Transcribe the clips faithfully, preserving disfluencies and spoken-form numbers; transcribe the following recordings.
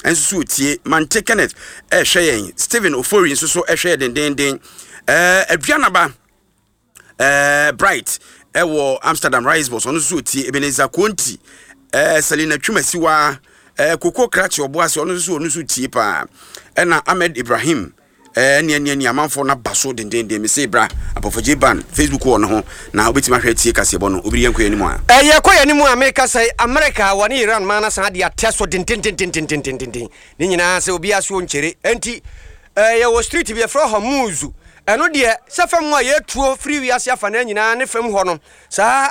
Nso so tie Mante Kenneth ɛhwɛ yɛn. Stephen Ofori nso so ɛhwɛ yɛn dendenden. ɛɛ Aduanaba ɛɛ Bright ɛwɔ Amsterdam Rice Boss, ɔno nso so tie. Ebenezer Konti, ɛɛ Selina Twumasiwa, ɛɛ Koko Krakye Ɔboase, ɔno nso so ɔno nso tie paa. Ɛna Ahmed Ibrahim, ɛɛ nea nea nea amanfoɔ no aba so dendenden. Me se bra Apɔfɔgye Ban Facebook wɔ no ho na wobɛtumi ahwɛ tie kaseɛbɔ no. Obiri, yɛnkɔ yɛn anim a. Ɛyɛ kɔ yɛn anim a, meka sɛ Amerika wɔne Iran ma no san de atɛ so dendendendendendenden ne nyinaa sɛ obiara so nkyere. Enti yɛwɔ strait bi yɛfrɛ Hormuz. Ɛno deɛ, sɛ fam a yɛtuo firi wiase afa no nyinaa ne fam hɔ no, saa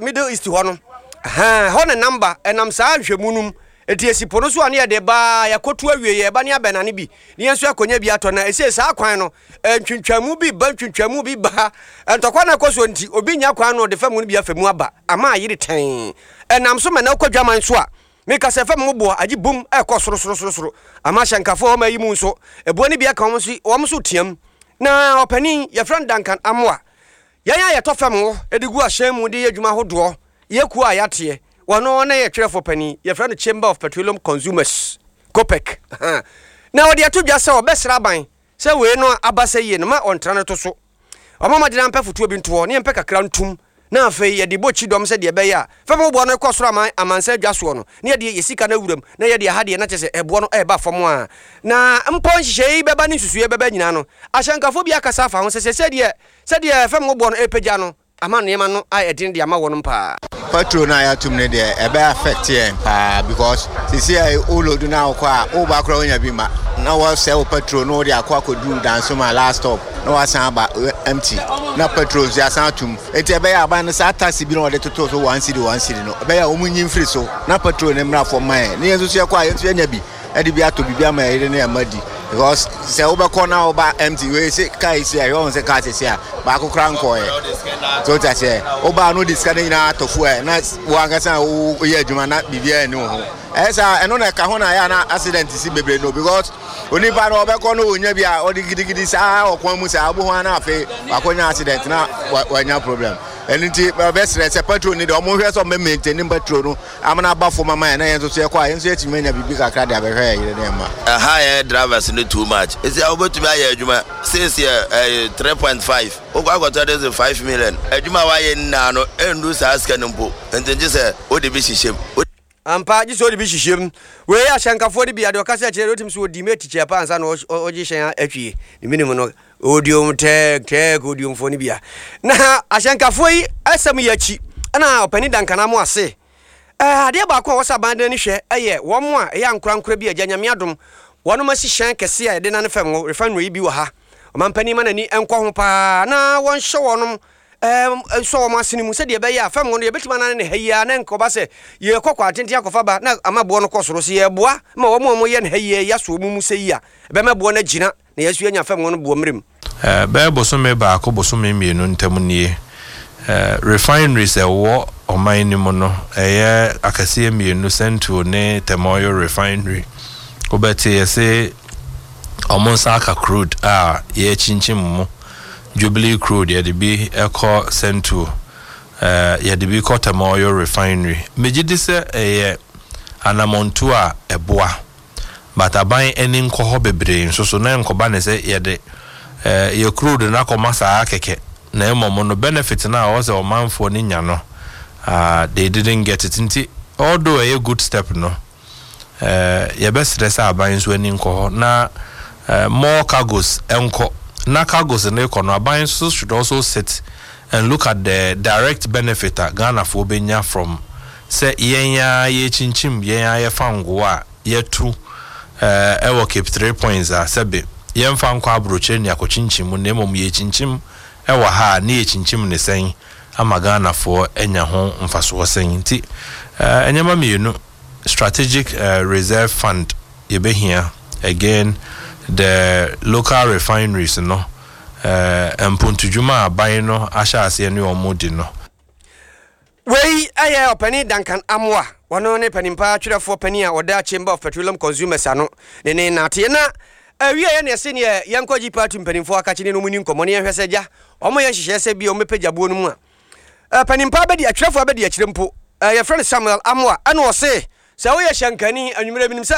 Middle East hɔ no hɔ ne namba ɛnam saa nhwɛmu no mu. Enti esi po no so a, ne yɛde baa yɛkɔto awie, yɛba ne abɛnane bi ne yɛn nso akɔnya bi atɔ. Na ɛsɛ saa kwan no, ntwintwamu bi ba, ntwintwamu bi ba, ntɔkwa no akɔ so nti obi nya kwan no ɔde fam no bi afa mu aba ama ayere tɛn. Ɛnam so ma na wokɔ dwaman so a, meka sɛ fam boɔ agye bum ɛkɔ soro soro soro soro ama ahyɛnkafoɔ ɔma yi mu nso ɛboɔ no bi aka wɔn so, wɔn nso team. Na ɔpanin yɛfrɛ no Duncan Amoa, yɛn a yɛtɔ fam wɔ de gu ahyɛn mu de yɛ adwuma ahodoɔ, yɛkuo a yɛateɛ wɔno ne yɛ twerɛfoɔ panin, yɛfrɛ no Chamber of Petroleum Consumers, COPEC, na wɔde ato dwa sɛ ɔbɛsra aban sɛ wei no aba sɛ yie no ma ɔntra no to so, ɔma mɔdena mpɛ fotoɔ bi ntoɔ ne yɛmpɛ kakra ntum na afei yɛde bɔ kyidɔm sɛ deɛ ɛbɛyɛ a fam boɔ no kɔ soro ama amansa adwa soɔ no ne yɛde yɛ sika no awuram na yɛde aha deɛ na kyerɛ sɛ ɛboɔ no ɛreba fam a. Na mpɔ nhyehyɛe yi bɛba ne nsusuiɛ bɛba nyinaa no, ahyɛnkafoɔ bi akasa afa ho sɛ sɛ sɛdeɛ sɛdeɛ fam boɔ no ɛrepagya no ama nneɛma no ayɛ den de ama wɔnom paa. Petrol no a yɛatom no deɛ, ɛbɛ affect yɛn paa because sisi a wo load no a wokɔ a woba koraa wonya bi ma na wɔsɛ wo petrol no, wode akɔ akɔduru Dansoma last stop na wasan aba empty na petrol nso yɛasan atom. Enti ɛbɛyɛ aban no saa tax bi na wɔde toto so one cedi one cedi no, ɛbɛyɛ a wɔn nyi mfiri so na petrol no mmra fam ma yɛn ne yɛn nso so yɛkɔ a yɛn nso yɛnya bi ɛde bi atɔ biribi ama yɛyere ne yɛn di because sɛ wobɛkɔ na woba empty wei sɛ kaa yi si a, ɛhwɛ wɔn sɛ kaa sisi a baako koraa nkɔɔyɛ so wote aseɛ, wobaa no de sika no nyinaa atɔ fuel na wo ankasa woyɛ adwuma na biribiara nni wo ho. Ɛyɛ saa, ɛno na ɛka ho na ɛyɛ a na accident si bebree no because onipa no ɔbɛkɔ no ɔnya bi a ɔde gidigidi saa ɔkwan mu saa ɔbɛhu ana afei wakɔnya accident na wanya problem. Ɛno nti bɛsrɛ sɛ petrol ni deɛ, ɔmo hwɛ sɛ ɔmo maintain petrol no amana aba fam ama yɛn na yɛn nso so yɛkɔ a yɛn nso yɛtumi anya biribi kakra de abɛhwɛ yɛn yere ne yɛn mma. Ɛha yɛ drivers no too much. Esi a wobɛtumi ayɛ adwuma seesi ɛyɛ three point five, wokɔ akɔtɔ de sɛ five million. Adwuma a wayɛ nyinaa no ɛndu saa sika no mpo, nti ngye sɛ wode bi hyehyɛ mu. Ampa, gye sɛ wode bi hyehyɛ mu. Wei ahyɛnkafoɔ no bi adeɛ ɔka sɛ kyerɛ wotumi sɛ wɔdi mɛ tikyɛ pa ansa na ɔgye hyɛn atwie ne menim no odiom tɛk tɛk odiomfoɔ no bia. Na ahyɛnkafoɔ yi asɛm yi akyi ɛna ɔpani Dankana mo ase adeɛ baako a wɔsɛ aban de n'ani hwɛ ɛyɛ wɔn a ɛyɛ ankorankora bi agya Nyame adom wɔnom asi hyɛn kɛse a yɛde nane fam wɔ refinery yi bi wɔ ha. Ɔmampanin ma n'ani nkɔ ho paa na wɔnhyɛ wɔnom nsɔ wɔn asene mu sɛdeɛ ɛbɛyɛ a fam no yɛbɛtumi anane ne ha yi a na nkɔba sɛ yɛkɔ kɔ atenten akɔfa ba na ama boɔ no kɔ soro. Sɛ yɛboa ma wɔn a wɔyɛ ne ha yi yɛaso wɔn mu sɛ yi a, ɛbɛma boɔ no agyina na yɛaso yɛanya fam no boɔ mmerɛ mu. Bɛyɛ bosome baako, bosome mmienu ntam nie, refineries ɛwɔ ɔman no mu no ɛyɛ akɛseɛ mmienu, Sentuo ne Tema Oil Refinery. Wobɛte yɛse ɔmo nsa aka crude a yɛkyinkyim mu, Jubilee crude, yɛde bi ɛkɔ Sentuo, yɛde bi kɔ Tema Oil Refinery. Megye di sɛ ɛyɛ anammɔntuo a ɛboa, but aban ani nkɔ hɔ bebree nso so na nkɔba ne sɛ yɛde yɛ crude no akɔma saa kɛkɛ na mmom no benefit no a ɔwɔ sɛ ɔmanfoɔ no nya no, uh, they didn't get it. Nti although ɛyɛ good step no, uh, yɛbɛsrɛ sɛ aban nso ani nkɔ hɔ na uh, more cargos nkɔ na cargos no kɔ no, aban nso should also sit and look at the direct benefit a Ghanafoɔ bɛnya from sɛ yɛn a yɛkyinkyim, yɛn a yɛfa ngo a yɛtu ɛwɔ Cape Three Points a sɛbe yɛmfa nkɔ aburokyire ne akɔkyinkyim mu na mmom yɛkyinkyim ɛwɔ ha a ne yɛkyinkyim ne sɛn ama Ghanafoɔ anya ho mfasoɔ sɛn. Nti nneɛma mmienu, strategic uh, reserve fund yɛbɛhia, again the local refineries no, uh, mpontodwuma a aban no ahyɛ aseɛ ne wɔn di no. Wei ɛyɛ ɔpani Duncan Amoa, wɔno ne panimpa twerɛfoɔ pani a ɔda Chamber of Petroleum Consumers ano ne ne nateɛ. Na awie yɛ ne ɛse neɛ yɛnkɔ gye party mpanimfoɔ akakye ne no mu ni nkɔmmɔ ne yɛhwɛ sɛ gya ɔmo yɛ nhyehyɛɛ sɛ bi ɔmo boɔ no mu a panimpa bɛdi atwerɛfoɔ bɛdi akyire mpo. Yɛfrɛ no Samuel Amoa, ɛna ɔse sɛ woyɛ hyɛnkani anwummerɛ binim sɛ